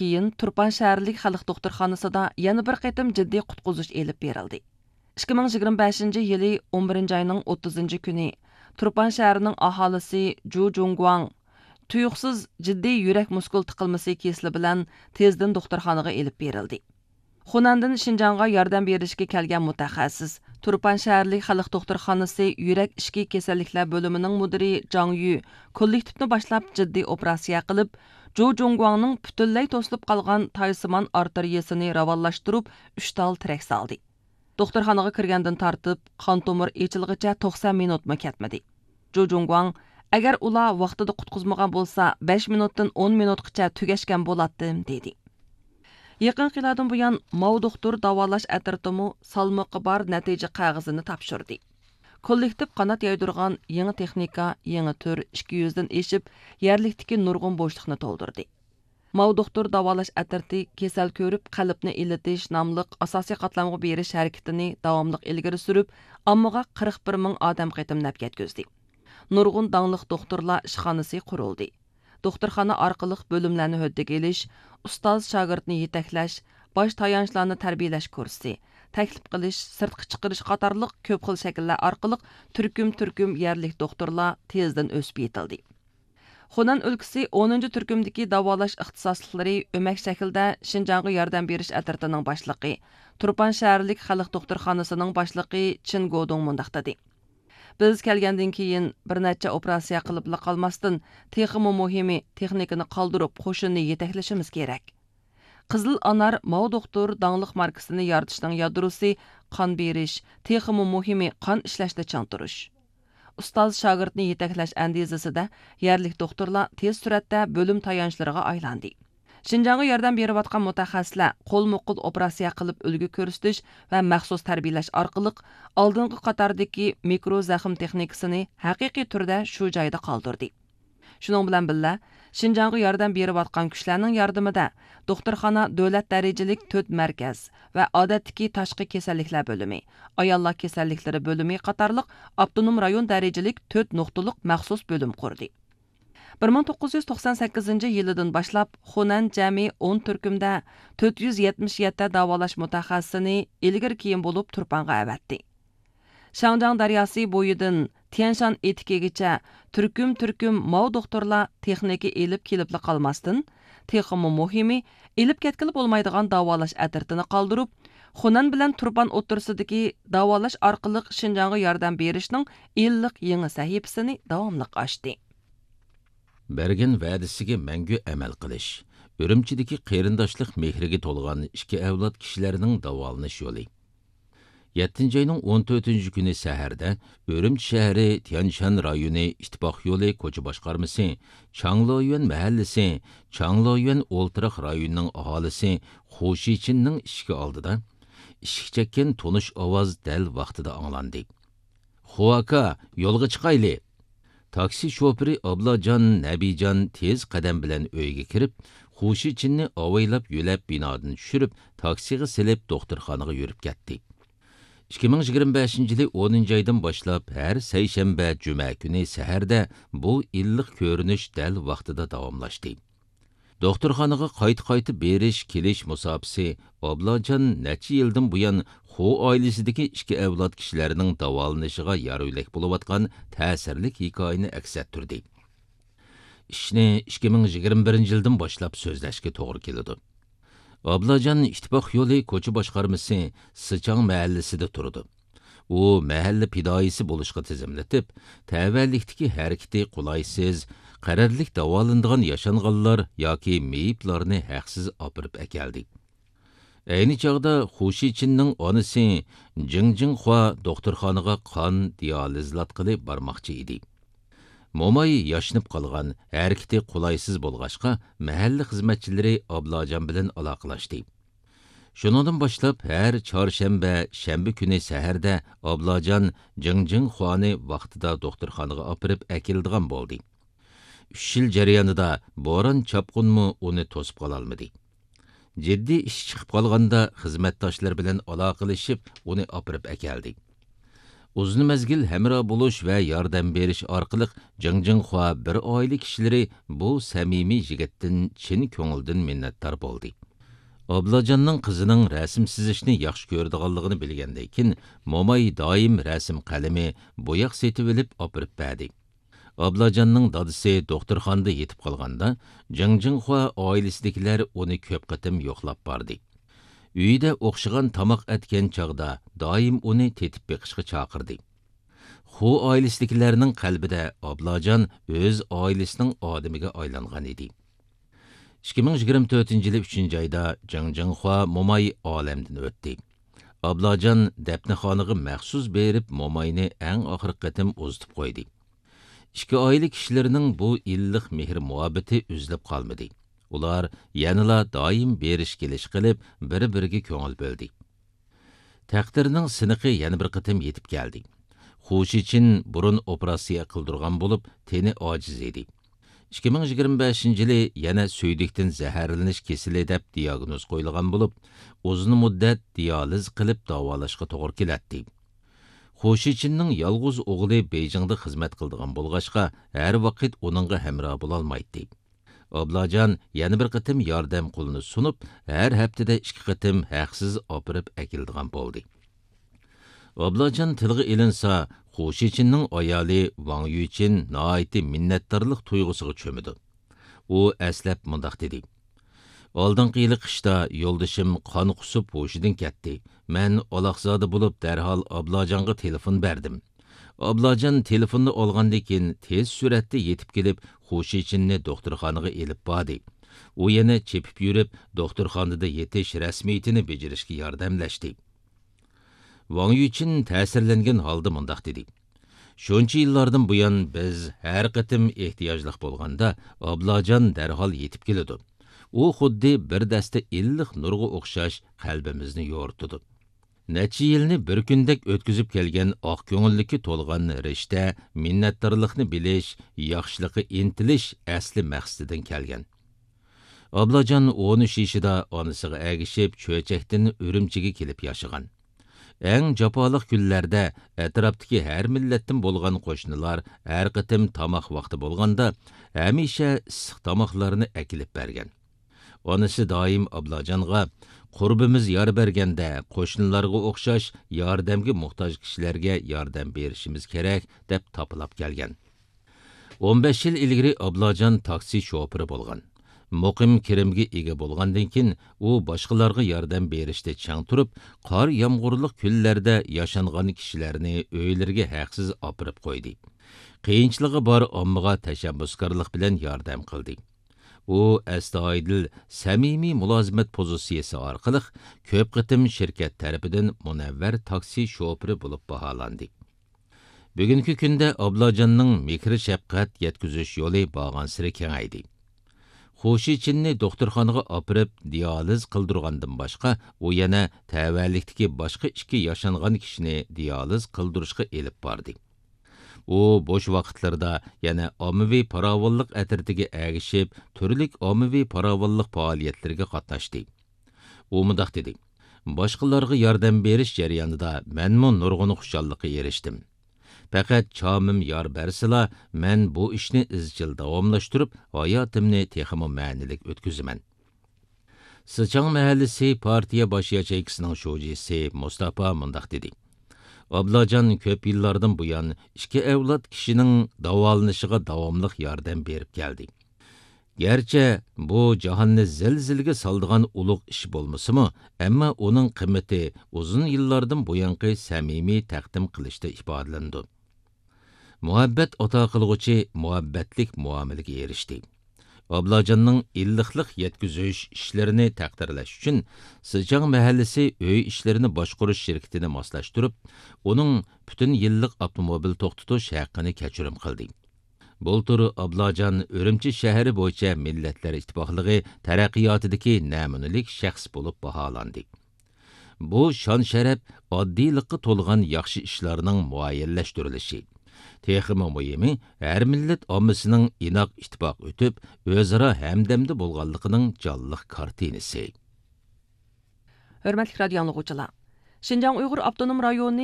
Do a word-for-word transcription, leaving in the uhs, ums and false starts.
كېيىن تۇرپان شەھەرلىك خەلق دوختۇرخانىسىدا يەنە بىر قېتىم جىددىي قۇتقۇزۇش ئېلىپ بېرىلدى. ئىككى مىڭ يىگىرمە بەشىنچى يىلى ئون بىرىنچى ئاينىڭ ئوتتۇزىنچى كۈنى تۇرپان شەھىرىنىڭ ئاھالىسى جۇ جۇڭگۇاڭ تۇيۇقسىز جىددىي يۈرەك مۇسكۇل تىقىلمىسى كېسىلى بىلەن تېزدىن دوختۇرخانىغا ئېلىپ بېرىلدى. خۇنەندىن شىنجاڭغا ياردەم بېرىشكە كەلگەن مۇتەخەسسىس، تۇرپان شەھەرلىك خەلق دوختۇرخانىسى يۈرەك ئىچكى كېسەللىكلەر بۆلۈمىنىڭ مۇدىرى جاڭ يۈ كوللېكتىپنى باشلاپ جىددىي ئوپېراتسىيە قىلىپ، جۇ جۇڭگۇاڭنىڭ پۈتۈنلەي توسۇلۇپ قالغان تايسىمان ئارتېرىيىسىنى راۋانلاشتۇرۇپ، ئۈچ تال تىرەك سالدى. دوختۇرخانىغا كىرگەندىن تارتىپ، قان تومۇر ئېچىلغىچە توقسان مىنۇتمۇ كەتمىدى. جۇ جۇڭگۇاڭ، «ئەگەر ئۇلار ۋاقتىدا قۇتقۇزمىغان بولسا، بەش مىنۇتتىن ئون مىنۇتقىچە تۈگەشكەن بولاتتىم» دېدى. يېقىنقى يىللاردىن بۇيان، ماۋ دوختۇر داۋالاش ئەترىتىمۇ سالمىقى بار نەتىجە قەغىزىنى تاپشۇردى. كوللېكتىپ قانات يايدۇرغان يېڭى تېخنىكا، يېڭى تۈر ئىككى يۈزدىن ئېشىپ، يەرلىكتىكى نۇرغۇن بوشلۇقنى تولدۇردى. ماۋ دوختۇر داۋالاش ئەترىتى كېسەل كۆرۈپ قەلبنى ئىللىتىش ناملىق ئاساسىي قاتلامغا بېرىش ھەرىكىتىنى داۋاملىق ئىلگىرى سۈرۈپ، ئاممىغا قىرىق بىر مىڭ ئادەم قېتىم نەپ يەتكۈزدى. نۇرغۇن داڭلىق دوختۇرلار ئىشخانىسى قۇرۇلدى. دوختۇرخانا ئارقىلىق بۆلۈملەرنى ھۆددىگە ئېلىش، ئۇستاز شاگىرتنى يېتەكلەش، باش تايانچلارنى تەربىيەلەش كۇرسى، تەكلىپ قىلىش، سىرتقا چىقىرىش قاتارلىق كۆپ خىل شەكىللەر ئارقىلىق تۈركۈم-تۈركۈم يەرلىك دوختۇرلار تېزدىن ئۆسۈپ يېتىلدى. خۇنەن ئۆلكىسى ئونىنچى تۈركۈمدىكى داۋالاش ئىختىساسلىقلىرى ئۆمەك شەكلىدە شىنجاڭغا ياردەم بېرىش ئەترىتىنىڭ باشلىقى، تۇرپان شەھەرلىك خەلق دوختۇرخانىسىنىڭ باشلىقى چىن گودۇڭ مۇنداق دېدى: «بىز كەلگەندىن كېيىن بىر نەچچە ئوپېراتسىيە قىلىپلا قالماستىن، تېخىمۇ مۇھىمى، تېخنىكىنى قالدۇرۇپ، قوشۇننى يېتەكلىشىمىز كېرەك.» قىزىل ئانار ماۋ دوختۇر داڭلىق ماركىسىنى يارىتىشنىڭ يادروسى قان بېرىش، تېخىمۇ مۇھىمى قان ئىشلەشتە چىڭ تۇرۇش. ئۇستاز شاگىرتنى يېتەكلەش ئەندىزىسىدە يەرلىك دوختۇرلار تېز سۈرئەتتە بۆلۈم تايانچلىرىغا ئايلاندى. شىنجاڭغا ياردەم بېرىۋاتقان مۇتەخەسسىسلەر قولمۇ قول ئوپېراتسىيە قىلىپ ئۈلگە كۆرسىتىش ۋە مەخسۇس تەربىيەلەش ئارقىلىق ئالدىنقى قاتاردىكى مىكرو زەخىم تېخنىكىسىنى ھەقىقىي تۈردە شۇ جايدا قالدۇردى. شۇنىڭ بىلەن بىللە، شىنجاڭغا ياردەم بېرىۋاتقان كۈچلەرنىڭ ياردىمىدە دوختۇرخانا دۆلەت دەرىجىلىك تۆت مەركەز ۋە ئادەتتىكى تاشقى كېسەللىكلەر بۆلۈمى، ئاياللار كېسەللىكلىرى بۆلۈمى قاتارلىق ئاپتونوم رايون دەرىجىلىك تۆت نۇقتىلىق مەخسۇس بۆلۈم قۇردى. بىر مىڭ توققۇز يۈز توقسان سەككىزىنچى يىلىدىن باشلاپ، خۇنەن جەمئىي ئون تۈركۈمدە تۆت يۈز يەتمىش يەتتە داۋالاش مۇتەخەسسىسىنى ئىلگىرى كېيىن بولۇپ تۇرپانغا ئەۋەتتى. شاڭجياڭ دەرياسى بويىدىن تيەنشان ئېتىكىگىچە تۈركۈم-تۈركۈم ماۋ دوختۇرلار تېخنىكا ئېلىپ كېلىپلا قالماستىن، تېخىمۇ مۇھىمى، ئېلىپ كەتكىلى بولمايدىغان داۋالاش ئەترىتىنى قالدۇرۇپ، خۇنەن بىلەن تۇرپان ئوتتۇرىسىدىكى داۋالاش ئارقىلىق شىنجاڭغا ياردەم بېرىشنىڭ ئىللىق يېڭى سەھىپىسىنى داۋاملىق ئاچتى. بەرگەن ۋەدىسىگە مەڭگۈ ئەمەل قىلىش. ئۈرۈمچىدىكى قېرىنداشلىق مېھرىگە تولغان ئىككى ئەۋلاد كىشىلەرنىڭ داۋالىنىش يولى. يەتتىنچى ئاينىڭ ئون تۆتىنچى كۈنى سەھەردە ئۈرۈمچى شەھىرى تيەنشان رايونى ئىتتىپاق يولى كوچا باشقارمىسى، چاڭلويۈەن مەھەللىسى، چاڭلويۈەن ئولتۇراق رايونىنىڭ ئاھالىسى خۇ شىچىننىڭ ئىشىكى ئالدىدا ئىشىك چەككەن تونۇش ئاۋاز دەل ۋاقتىدا ئاڭلاندى. خۇ ئاكا، يولغا چىقايلى! تاكسى شوپۇرى ئابلاجان نەبىجان تېز قەدەم بىلەن ئۆيگە كىرىپ، خۇ شىچىننى ئاۋايلاپ يۆلەپ بىنادىن چۈشۈرۈپ، تاكسىغا سېلىپ دوختۇرخانىغا يۈرۈپ كەتتى. ئىككى مىڭ يىگىرمە بەشىنچى يىلى ئونىنچى ئايدىن باشلاپ ھەر سەيشەنبە، جۈمە كۈنى سەھەردە بۇ ئىللىق كۆرۈنۈش دەل ۋاقتىدا داۋاملاشتى. دوختۇرخانىغا قايتا-قايتا بېرىش-كېلىش مۇساپىسى ئابلاجان نەچچە يىلدىن بۇيان خو ئائىلىسىدىكى ئىككى ئەۋلاد كىشىلەرنىڭ داۋالىنىشىغا يار-يۆلەك بولۇۋاتقان تەسىرلىك ھېكايىنى ئەكس ئەتتۈردى. ئىشنى ئىككى مىڭ يىگىرمە بىرىنچى يىلدىن باشلاپ سۆزلەشكە توغرا كېلىدۇ. ئابلاجان ئىتتىپاق يولى كوچا باشقارمىسى سىچاڭ مەھەللىسىدە تۇرىدۇ. ئۇ مەھەللە پىدائىيسى بولۇشقا تىزىملىتىپ، تەۋەلىكتىكى ھەرىكىتى قولايسىز، قەرەللىك داۋالىنىدىغان ياشانغانلار ياكى مېيىپلارنى ھەقسىز ئاپىرىپ ئەكەلدى. ئەينى چاغدا خۇ شىچىننىڭ ئانىسى جىڭ جىڭخۇا دوختۇرخانىغا قان دىئالىزلاتقىلى بارماقچى ئىدى. موماي ياشىنىپ قالغان، ھەرىكىتى قولايسىز بولغاچقا، مەھەللە خىزمەتچىلىرى ئابلاجان بىلەن ئالاقىلاشتى. شۇنىڭدىن باشلاپ ھەر چارشەنبە، شەنبە كۈنى سەھەردە ئابلاجان جىڭ جىڭخۇانى ۋاقتىدا دوختۇرخانىغا ئاپىرىپ ئەكېلىدىغان بولدى. ئۈچ يىل جەريانىدا بوران-چاپقۇنمۇ ئۇنى توسۇپ قالالمىدى. جىددىي ئىش چىقىپ قالغاندا خىزمەتداشلىرى بىلەن ئالاقىلىشىپ ئۇنى ئاپىرىپ ئەكەلدى. ئۇزۇن مەزگىل ھەمراھ بولۇش ۋە ياردەم بېرىش ئارقىلىق جېڭ جىڭخۇا بىر ئائىلە كىشىلىرى بۇ سەمىمىي يىگىتتىن چىن كۆڭۈلدىن مىننەتدار بولدى. ئابلاجاننىڭ قىزىنىڭ رەسىم سىزىشنى ياخشى كۆرىدىغانلىقىنى بىلگەندىن كېيىن، موماي دائىم رەسىم قەلىمى، بوياق سېتىۋېلىپ ئاپىرىپ بەردى. ئابلاجاننىڭ دادىسى دوختۇرخانىدا يېتىپ قالغاندا، جېڭ جىڭخۇا ئائىلىسىدىكىلەر ئۇنى كۆپ قېتىم يوقلاپ باردى. ئۆيىدە ئوخشىغان تاماق ئەتكەن چاغدا دائىم ئۇنى تېتىپ بېقىشقا چاقىردى. خۇ ئائىلىسىدىكىلەرنىڭ قەلبىدە ئابلاجان ئۆز ئائىلىسىنىڭ ئادىمىگە ئايلانغان ئىدى. ئىككى مىڭ يىگىرمە تۆتىنچى يىلى ئۈچىنچى ئايدا جېڭ جىڭخۇا موماي ئالەمدىن ئۆتتى. ئابلاجان دەپنىخانىغا مەخسۇس بېرىپ، موماينى ئەڭ ئاخىرقى قېتىم ئۇزىتىپ قويدى. ئىككى ئائىلە كىشىلىرىنىڭ بۇ ئىللىق مېھىر-مۇھەببىتى ئۈزۈلۈپ قالمىدى. ئۇلار يەنىلا دائىم بېرىش-كېلىش قىلىپ، بىر-بىرىگە كۆڭۈل بۆلدى. تەقدىرنىڭ سىنىقى يەنە بىر قېتىم يېتىپ كەلدى. خۇ شىچىن بۇرۇن ئوپېراتسىيە قىلدۇرغان بولۇپ، تېنى ئاجىز ئىدى. ئىككى مىڭ يىگىرمە بەشىنچى يىلى يەنە سۈيدۈكتىن زەھەرلىنىش كېسىلى دەپ دىياگنوز قويۇلغان بولۇپ، ئۇزۇن مۇددەت دىيالىز قىلىپ داۋالاشقا توغرا كېلەتتى. خۇ شىچىننىڭ يالغۇز ئوغلى بېيجىڭدا خىزمەت قىلىدىغان بولغاچقا، ھەر ۋاقىت ئۇنىڭغا ھەمراھ بولالمايتتى. ئابلاجان يەنە بىر قېتىم ياردەم قولىنى سۇنۇپ، ھەر ھەپتىدە ئىككى قېتىم ھەقسىز ئاپىرىپ ئەكېلىدىغان بولدى. ئابلاجان تىلغا ئېلىنسا، خۇ شىچىننىڭ ئايالى ۋاڭ يۈچىن ناھايىتى مىننەتدارلىق تۇيغۇسىغا چۆمىدۇ. ئۇ ئەسلەپ مۇنداق دېدى: «ئالدىنقى يىلى قىشتا يولدىشىم قان قۇسۇپ ھوشىدىن كەتتى. مەن ئالاقزادە بولۇپ، دەرھال ئابلاجانغا تېلېفون بەردىم. ئابلاجان تېلېفوننى ئالغاندىن كېيىن، تېز سۈرئەتتە يېتىپ كېلىپ، خۇ شىچىننى دوختۇرخانىغا ئېلىپ باردى. ئۇ يەنە چېپىپ يۈرۈپ، دوختۇرخانىدا يېتىش رەسمىيىتىنى بېجىرىشكە ياردەملەشتى.» ۋاڭ يۈچىن تەسىرلەنگەن ھالدا مۇنداق دېدى: «شۇنچە يىللاردىن بۇيان، بىز ھەر قېتىم ئېھتىياجلىق بولغاندا، ئابلاجان دەرھال يېتىپ كېلىدۇ. ئۇ خۇددى بىر دەستە ئىللىق نۇرغا ئوخشاش، قەلبىمىزنى يورۇتىدۇ.» نەچچە يىلنى بىر كۈندەك ئۆتكۈزۈپ كەلگەن ئاق كۆڭۈللۈككە تولغان رىشتە، مىننەتدارلىقنى بىلىش، ياخشىلىققا ئىنتىلىش ئەسلى مەقسىتىدىن كەلگەن. ئابلاجان ئون ئۈچ يېشىدا ئانىسىغا ئەگىشىپ، چۆچەكتىن ئۈرۈمچىگە كېلىپ ياشىغان. ئەڭ جاپالىق كۈنلەردە ئەتراپتىكى ھەر مىللەتتىن بولغان قوشنىلار ھەر قېتىم تاماق ۋاقتى بولغاندا، ھەمىشە ئىسسىق تاماقلارنى ئەكېلىپ بەرگەن. ئانىسى دائىم ئابلاجانغا، «قۇربىمىز يار بەرگەندە، قوشنىلارغا ئوخشاش ياردەمگە موھتاج كىشىلەرگە ياردەم بېرىشىمىز كېرەك» دەپ تاپىلاپ كەلگەن. ئون بەش يىل ئىلگىرى ئابلاجان تاكسى شوپۇرى بولغان. مۇقىم كىرىمگە ئىگە بولغاندىن كېيىن، ئۇ باشقىلارغا ياردەم بېرىشتە چىڭ تۇرۇپ، قار-يامغۇرلۇق كۈنلەردە ياشانغان كىشىلەرنى ئۆيلىرىگە ھەقسىز ئاپىرىپ قويدى. قىيىنچىلىقى بار ئاممىغا تەشەببۇسكارلىق بىلەن ياردەم قىلدى. ئۇ ئەستايىدىل، سەمىمىي مۇلازىمەت پوزىتسىيىسى ئارقىلىق كۆپ قېتىم شىركەت تەرىپىدىن مۇنەۋۋەر تاكسى شوپۇرى بولۇپ باھالاندى. بۈگۈنكى كۈندە ئابلاجاننىڭ مېھىر-شەپقەت يەتكۈزۈش يولى بارغانسېرى كېڭەيدى. خۇ شىچىننى دوختۇرخانىغا ئاپىرىپ دىيالىز قىلدۇرغاندىن باشقا، ئۇ يەنە تەۋەلىكتىكى باشقا ئىككى ياشانغان كىشىنى دىيالىز قىلدۇرۇشقا ئېلىپ باردى. ئۇ بوش ۋاقىتلىرىدا يەنە ئاممىۋى پاراۋانلىق ئەترىتىگە ئەگىشىپ، تۈرلۈك ئاممىۋى پاراۋانلىق پائالىيەتلىرىگە قاتناشتى. ئۇ مۇنداق دېدى: «باشقىلارغا ياردەم بېرىش جەريانىدا مەنمۇ نۇرغۇن خۇشاللىققا ئېرىشتىم. پەقەت چامىم يار بەرسىلا، مەن بۇ ئىشنى ئىزچىل داۋاملاشتۇرۇپ، ھاياتىمنى تېخىمۇ مەنىلىك ئۆتكۈزىمەن.» سىچاڭ مەھەللىسى پارتىيە باش ياچېيكىسىنىڭ شۇجىسى مۇستاپا مۇنداق دېدى: «ئابلاجان كۆپ يىللاردىن بۇيان ئىككى ئەۋلاد كىشىنىڭ داۋالىنىشىغا داۋاملىق ياردەم بېرىپ كەلدى. گەرچە بۇ جاھاننى زىلزىلىگە سالىدىغان ئۇلۇغ ئىش بولمىسىمۇ، ئەمما ئۇنىڭ قىممىتى ئۇزۇن يىللاردىن بۇيانقى سەمىمىي تەقدىم قىلىشتا ئىپادىلىنىدۇ.» مۇھەببەت ئاتا قىلغۇچى مۇھەببەتلىك مۇئامىلىگە ئېرىشتى. ئابلاجاننىڭ ئىللىقلىق يەتكۈزۈش ئىشلىرىنى تەقدىرلەش ئۈچۈن، سىچاڭ مەھەللىسى ئۆي ئىشلىرىنى باشقۇرۇش شىركىتىنى ماسلاشتۇرۇپ، ئۇنىڭ پۈتۈن يىللىق ئاپتوموبىل توختىتىش ھەققىنى كەچۈرۈم قىلدى. بۇلتۇر ئابلاجان ئۈرۈمچى شەھىرى بويىچە مىللەتلەر ئىتتىپاقلىقى تەرەققىياتىدىكى نەمۇنىلىك شەخس بولۇپ باھالاندى. بۇ شان-شەرەپ ئاددىيلىققا تولغان ياخشى ئىشلارنىڭ مۇئەييەنلەشتۈرۈلۈشى. تېخىمۇ مۇھىمى، ھەر مىللەت ئاممىسىنىڭ ئىناق ئىتتىپاق ئۆتۈپ، ئۆزئارا ھەمدەمدە بولغانلىقىنىڭ جانلىق كارتىنىسى. ھۆرمەتلىك رادىيو ئاڭلىغۇچىلار! شىنجاڭ ئۇيغۇر ئاپتونوم رايونى